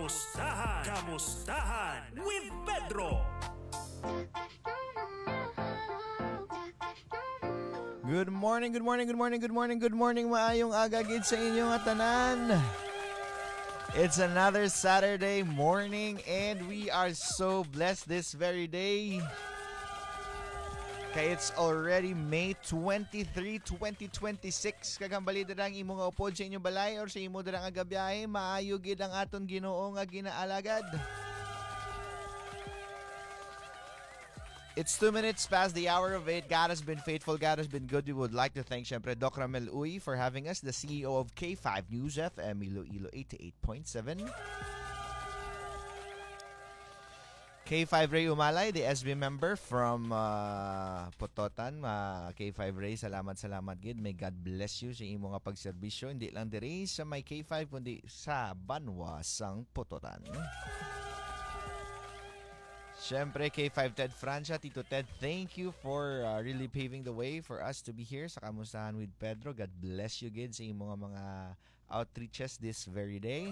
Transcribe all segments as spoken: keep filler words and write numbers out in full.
Kamustahan? Kamustahan with Pedro. Good morning, good morning, good morning, good morning, good morning. Maayong aga gid sa inyo nga tanan. It's another Saturday morning and we are so blessed this very day. Kay it's already May twenty-three, twenty twenty-six. Kag hambali dira ang imo nga upod sa inyong balay or sa imo dira nga gabiyahe, maayo gid ang aton Ginoo nga ginaalagad. It's two minutes past the hour of eight. God has been faithful. God has been good. We would like to thank, syempre, Doc Ramel Uy for having us, the C E O of K five News F M Iloilo eighty-eight point seven. K five Ray Umalay, the S B member from uh, Pototan. Uh, K five Ray, salamat, salamat gid. May God bless you sa imo nga pagserbisyo. Hindi lang diri sa may K five, kundi sa banwa sang Pototan. Siyempre, K five Ted Francia, Tito Ted, thank you for uh, really paving the way for us to be here sa Kamustahan with Pedro. God bless you gid sa imo nga mga outreaches this very day.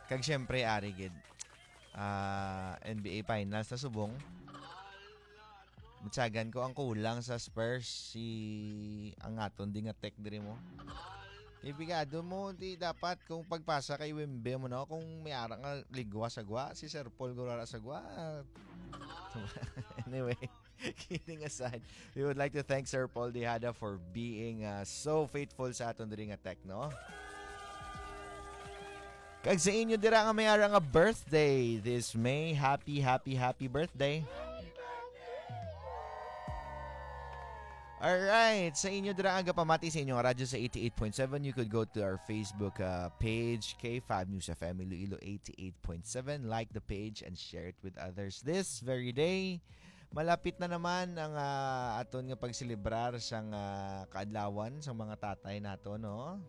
Kag siyempre, ari gid, ah, N B A Finals na subong. Matsagan ko ang kulang sa Spurs, si ang aton di nga tech diri mo. Kay bigado mo, di dapat kung pagpasa kay Wimbe mo, no? Kung may ara nga ligwa sa gwa, si Sir Paul Gurara sa gwa. Anyway, kidding aside, we would like to thank Sir Paul Dejada for being uh, so faithful sa aton diri nga tech, no? Kag sa inyo dira nga may ara nga birthday this May, happy, happy, happy birthday. Alright, sa inyo dira nga gapamati sa inyong radyo sa eighty-eight point seven, you could go to our Facebook uh, page, K five News F M Iloilo eighty-eight point seven. Like the page and share it with others this very day. Malapit na naman ang uh, aton nga pagselebrar sang uh, kaadlawan sang mga tatay nato, no?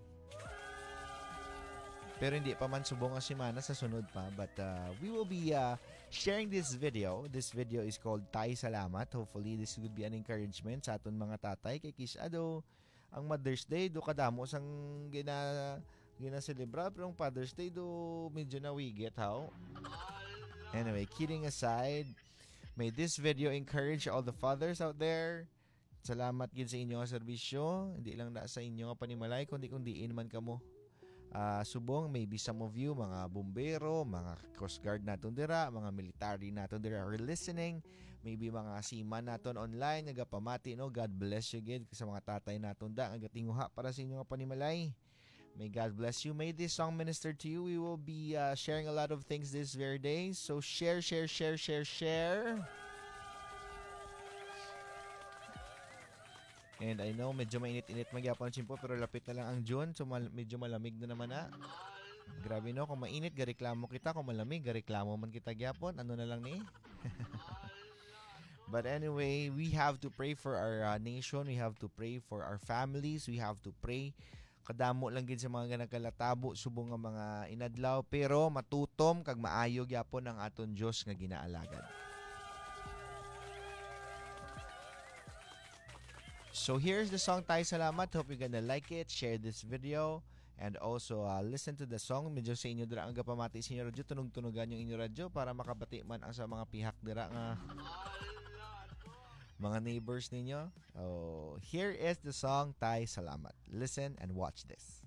Pero hindi pa man subong ang semana, sa sunod pa. But uh, we will be uh, sharing this video. This video is called Tay Salamat. Hopefully, this would be an encouragement sa aton mga tatay. Kay kis-a do ang Mother's Day, do kadamo sang gina ginaselebra, pero ang Father's Day do medyo nawigit, how? Anyway, kidding aside, may this video encourage all the fathers out there. Salamat gid sa inyo nga serbisyo, hindi lang na sa inyo nga panimalay, kundi kung diin man kamo. Ah, subong, maybe some of you, mga bumbero, mga Coast Guard naton dira, mga military naton dira are listening, maybe mga seaman naton online, nagapamati, no? God bless you gid sa mga tatay naton da, nga gatinguha para sa inyo nga panimalay. May God bless you. May this song minister to you. We will be uh, sharing a lot of things this very day. So share, share, share, share, share. And I know, medyo mainit-init man gyapon ang tiyempo, pero lapit na lang ang June, so mal- medyo malamig na naman na. Grabe, no, kung mainit, gareklamo kita, kung malamig, gareklamo man kita gyapon. Ano na lang ni? But anyway, we have to pray for our uh, nation. We have to pray for our families. We have to pray. Kadamo lang gid sa mga nagkalatabo subong nga mga inadlaw, pero matutom kag maayo gyapon ang aton Dios nga ginaalagad. So here's the song, Tay Salamat. Hope you're gonna like it. Share this video. And also, uh, listen to the song. Medyo sa inyo dira ang gapamati sa inyo radyo, tunog-tunogan yung inyo radyo para makabati man ang sa mga pihak dira nga mga neighbors ninyo. Oh, here is the song, Tay Salamat. Listen and watch this.